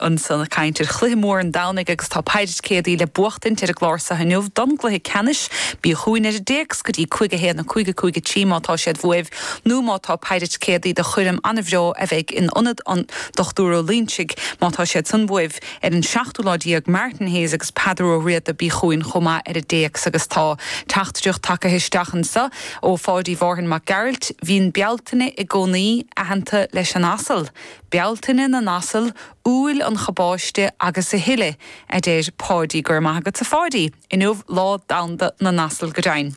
Ansan ag caint ar chluiche mór an Domhnaigh agus tá péire ticéadaí le buachtaint ar an gclár so inniu don gcluiche ceannais. Bí chugainn ar an dtéacs go dtí 5 1 5 5 3 má tá siad uaibh nó má tá péire ticéadaí do choirm an-bhreá a bheidh in Ionad an Dr Ó Loingsigh má tá siad san uaibh ar an seachtú lá déag Martin Hayes agus Peadar Ó Riada bí chugainn chomh maith ar an dtéacs agus tá teachtaireacht tagtha isteach anso ó Pháidí Mhárthain Mac Gearailt Bhíonn Bealtaine i gcónaí aitheanta leis an asal. Bealtaine na n-asal, Iúil an chabáiste agus a thuilleadh, a deir Páidí. Go raibh maith agat a Pháidí. Inniu Lá Domhanda na n-Asal go deimhin.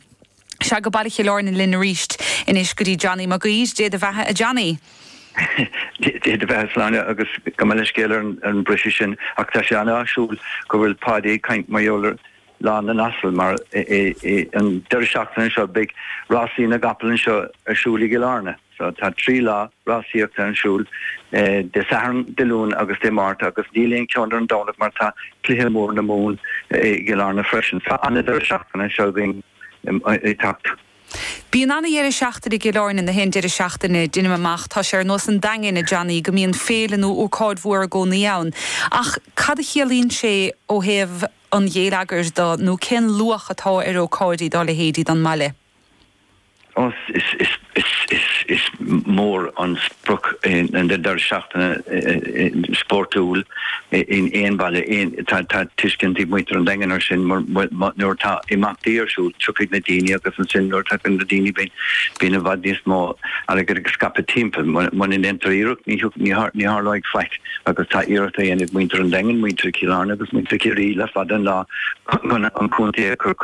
Sea, go Baile Chill Airne linn arís anois go dtí Johnny Mag Uidhir. Dé do bheatha a Johnny. Dé do bheatha Sláine agus gabh mo leithscéal ar an briseadh sin ach tá sé an-áisiúil go bhfuil Páidí ag caint mar gheall ar Lá na nAsal mar an deireadh seachtaine seo beidh rásaí na gcapall anseo ar siúl i gCill Airne. So tá 3 lá rásaíochta ar siúl, Dé Sathairn, Dé Luain agus Dé Máirt agus níl aon cheann ar an Domhnach mar tá cluiche mór na Mumhan i gCill Airne freisin. So an-deireadh seachtaine seo againn ag teacht. Bíonn ana-dheireadh seachtaine i gCill Airne, na haon deireadh seachtaine, deinim amach. Tá sé ar nós an Daingin, a Johnny, go mbíonn féile nó ócáid mhór i gcónaí ann. Ach cad a chiallaíonn sé ó thaobh an ghéilleagair de nó cén luach atá ar ócáidí dá leithéidí don mbaile? Ó, is mór an sprioc an deireadh seachtaine spórtúil in aon bhaile. Tá tuiscint ag muintir an Daingin air sin mar nuair atá imeachtaí ar siúl tiocfaidh na daoine agus ansin nuair a tagann na daoine bíonn i bhfad níos mó airgid ag scaipeadh timpeall. Muna ndéantar iarracht ní tharlóidh faic agus tá iarracht á dhéanamh ag muintir an Daingin, muintir Chill Airne agus muintir Chiarraí le fada an lá chun an contae a chur.